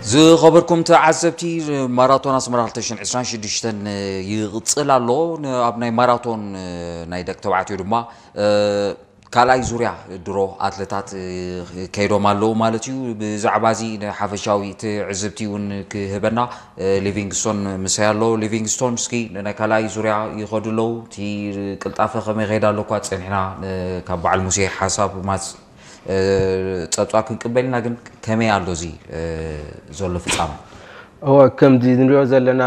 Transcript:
ዝኸበርኩም ተዓዘብቲ፣ ማራቶን ኣስመራ ክልተ ሽሕን ዕስራን ሽዱሽተን ይቕጽል ኣሎ። ኣብ ናይ ማራቶን ናይ ደቂ ተባዕትዮ ድማ ካልኣይ ዙርያ ድሮ ኣትለታት ከይዶም ኣለዉ ማለት እዩ። ብዛዕባ እዚ ንሓፈሻዊ ትዕዝብቲ እውን ክህበና ሊቪንግስቶን ምሳይ ኣሎ። ሊቪንግስቶን፣ እስኪ ናይ ካልኣይ ዙርያ ይኸዱ ኣለዉ፣ እቲ ቅልጣፈ ከመይ ይኸይድ ኣሎ እኳ ጸኒሕና ካብ በዓል ሙሴ ሓሳብ ማጽ ጸብጻብ ክንቅበል ኢና። ግን ከመይ ኣሎ እዚ ዘሎ ፍጻመ? እወ፣ ከምዚ ንሪኦ ዘለና